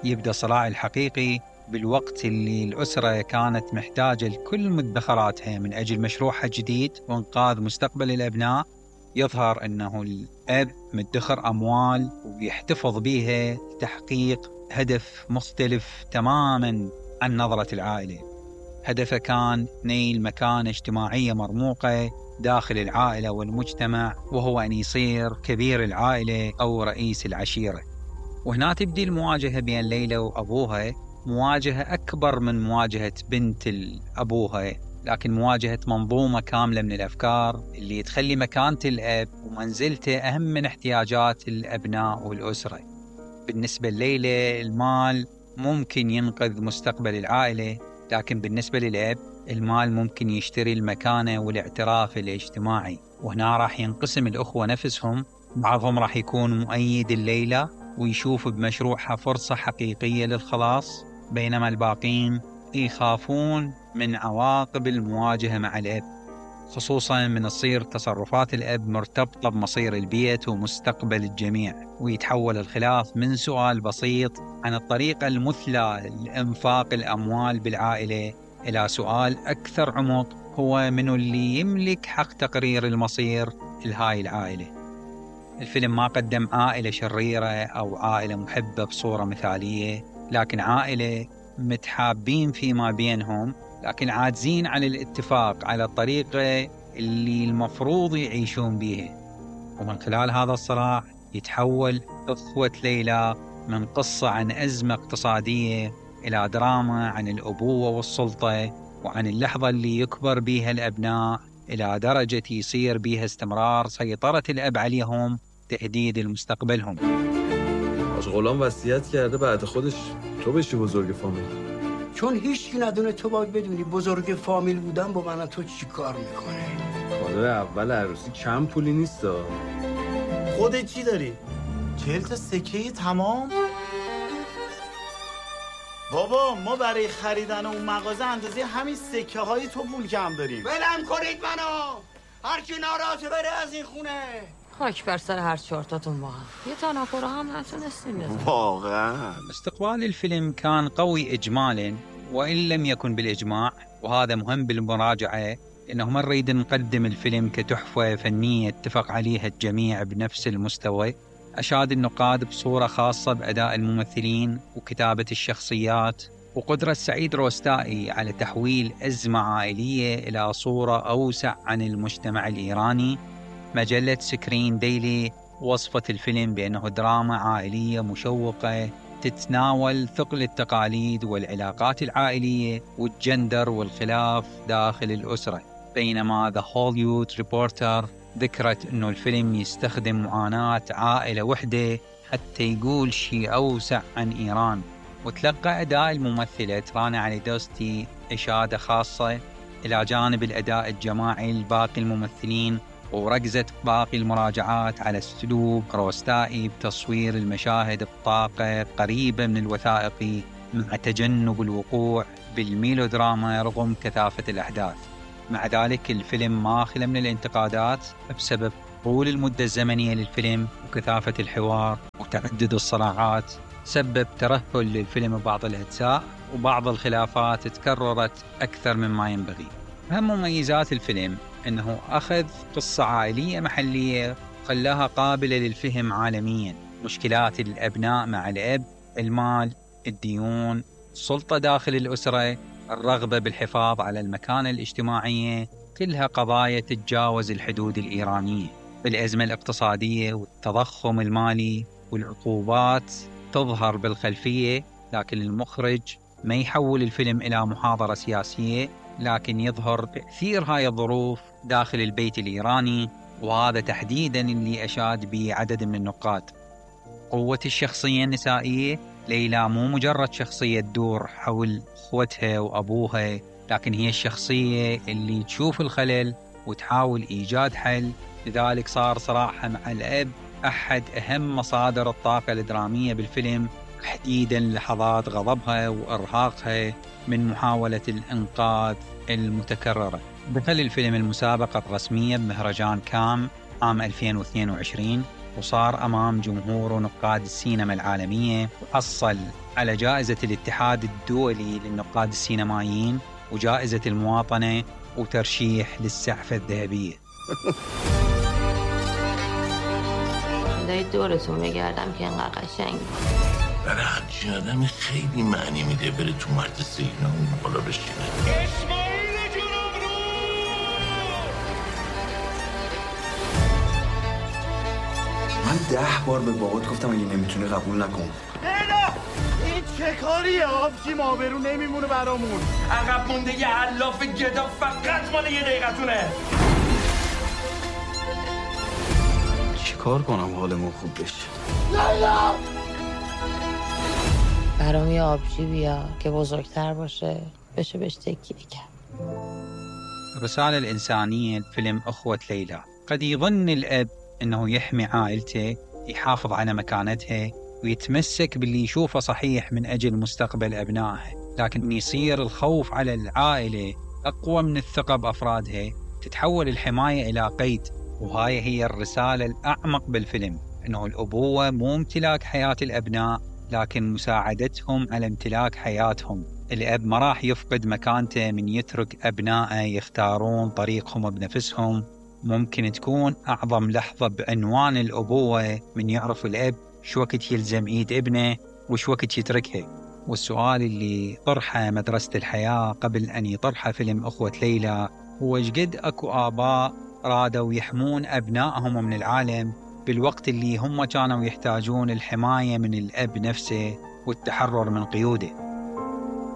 يبدأ الصراع الحقيقي بالوقت اللي الأسرة كانت محتاجة لكل مدخراتها من أجل مشروعها الجديد وإنقاذ مستقبل الأبناء. يظهر أنه الأب مدخر أموال ويحتفظ بها لتحقيق هدف مختلف تماماً عن نظرة العائلة. هدفه كان نيل مكانة اجتماعية مرموقة داخل العائلة والمجتمع، وهو أن يصير كبير العائلة أو رئيس العشيرة. وهنا تبدي المواجهة بين ليلى وأبوها، مواجهة أكبر من مواجهة بنت أبوها، لكن مواجهة منظومة كاملة من الأفكار اللي تخلي مكانة الأب ومنزلته أهم من احتياجات الأبناء والأسرة. بالنسبة لليلى المال ممكن ينقذ مستقبل العائلة، لكن بالنسبة للأب المال ممكن يشتري المكانة والاعتراف الاجتماعي. وهنا راح ينقسم الأخوة نفسهم، بعضهم راح يكون مؤيد الليلى ويشوف بمشروعها فرصة حقيقية للخلاص، بينما الباقين يخافون من عواقب المواجهة مع الأب، خصوصا من تصير تصرفات الأب مرتبطة بمصير البيت ومستقبل الجميع، ويتحول الخلاف من سؤال بسيط عن الطريقة المثلى لإنفاق الأموال بالعائلة إلى سؤال أكثر عمق، هو من اللي يملك حق تقرير المصير لهاي العائلة. الفيلم ما قدم عائلة شريرة أو عائلة محبة بصورة مثالية، لكن عائلة متحابين فيما بينهم لكن عاجزين عن الاتفاق على الطريقة اللي المفروض يعيشون بيها. ومن خلال هذا الصراع يتحول أخوة ليلى من قصة عن أزمة اقتصادية إلى دراما عن الأبوة والسلطة، وعن اللحظة اللي يكبر بيها الأبناء إلى درجة يصير بيها استمرار سيطرة الأب عليهم تهديد لمستقبلهم. حاج غلام وصیت کرده بعد خودش تو بشی بزرگ فامیل. چون هیچ کی ندونه تو باید بدونی بزرگ فامیل بودن با من تو چی کار میکنه. کادو اول عروسی کم پولی نیستا. خودت چی داری؟ 40 تا سکه تمام؟ بابا ما برای خریدن اون مغازه اندازه همین سکه های تو پول کم داریم. ولم کنید منو، هر کی ناراحته بره از این خونه. خاک بر سر هر چهارتاتون با هم، یه تنافر هم نتونستیم بزنیم. واقعا استقبال الفيلم كان قوي إجمالا وإن لم يكن بالإجماع، وهذا مهم بالمراجعة، إنه ما نريد نقدم الفيلم كتحفة فنية اتفق عليها الجميع بنفس المستوى. أشاد النقاد بصورة خاصة بأداء الممثلين وكتابة الشخصيات، وقدرة سعيد روستائي على تحويل أزمة عائلية إلى صورة أوسع عن المجتمع الإيراني. مجلة سكرين ديلي وصفت الفيلم بأنه دراما عائلية مشوقة تتناول ثقل التقاليد والعلاقات العائلية والجندر والخلاف داخل الأسرة، بينما The Hollywood Reporter ذكرت أنه الفيلم يستخدم معاناة عائلة وحدة حتى يقول شيء أوسع عن إيران. وتلقى أداء الممثلة رانا علي دوستي إشادة خاصة إلى جانب الأداء الجماعي لباقي الممثلين، وركزت باقي المراجعات على أسلوب روستائي بتصوير المشاهد بطاقة قريبة من الوثائقي مع تجنب الوقوع بالميلودراما رغم كثافة الأحداث. مع ذلك الفيلم ما خلا من الانتقادات بسبب طول المدة الزمنية للفيلم وكثافة الحوار وتعدد الصراعات، سبب ترهل للفيلم ببعض الأجزاء، وبعض الخلافات تكررت أكثر مما ينبغي. أهم مميزات الفيلم أنه أخذ قصة عائلية محلية وخلاها قابلة للفهم عالميا. مشكلات الأبناء مع الأب، المال، الديون، السلطة داخل الأسرة، الرغبة بالحفاظ على المكانة الاجتماعية، كلها قضايا تتجاوز الحدود الإيرانية. الأزمة الاقتصادية والتضخم المالي والعقوبات تظهر بالخلفية، لكن المخرج ما يحول الفيلم إلى محاضرة سياسية، لكن يظهر تأثير هاي الظروف داخل البيت الإيراني، وهذا تحديدا اللي أشاد به عدد من النقاد. قوة الشخصية النسائية، ليلى مو مجرد شخصية تدور حول أخوتها وأبوها، لكن هي الشخصية اللي تشوف الخلل وتحاول إيجاد حل. لذلك صار صراعها مع الأب أحد أهم مصادر الطاقة الدرامية بالفيلم، تحديدا لحظات غضبها وإرهاقها من محاولة الإنقاذ المتكررة. دخل الفيلم المسابقة الرسمية بمهرجان كام عام 2022، وصار أمام جمهور ونقاد السينما العالمية، وحصل على جائزة الاتحاد الدولي للنقاد السينمائيين وجائزة المواطنة وترشيح للسعفة الذهبية. دایی دورتون بگردم که اینقدر قشنگ برای همچین آدمی خیلی معنی میده بره تو مرد سینا اون بالا بشینه. اسماعیل جنوبرو! من 10 بار به بابات گفتم اگه نمیتونی قبول نکن. نه این چه کاریه؟ آبجیم آبرو نمیمونه برامون. عقب مونده یه علاف گدا فقط مال یه دقیقتونه. چیکار کنم حالمون خوب بشه؟ لیلا! برام یه آبجی بیا که بزرگتر باشه بشه بهش تکیه کرد. الرسالة الإنسانية الفيلم أخوة ليلى. قد يظن الأب أنه يحمي عائلته، يحافظ على مكانتها ويتمسك باللي يشوفه صحيح من أجل مستقبل أبنائه، لكن يصير الخوف على العائلة أقوى من الثقة بأفرادها، تتحول الحماية إلى قيد. وهاي هي الرسالة الأعمق بالفيلم، أنه الأبوة مو امتلاك حياة الأبناء لكن مساعدتهم على امتلاك حياتهم. الأب ما راح يفقد مكانته من يترك أبنائه يختارون طريقهم بنفسهم. ممكن تكون أعظم لحظة بعنوان الأبوة من يعرف الأب شو وقت يلزم إيد ابنه وش وقت يتركها. والسؤال اللي طرحه مدرسة الحياة قبل أن يطرحه فيلم أخوة ليلى هو شقد أكو آباء رادوا يحمون أبنائهم من العالم بالوقت اللي هم كانوا يحتاجون الحماية من الأب نفسه والتحرر من قيوده.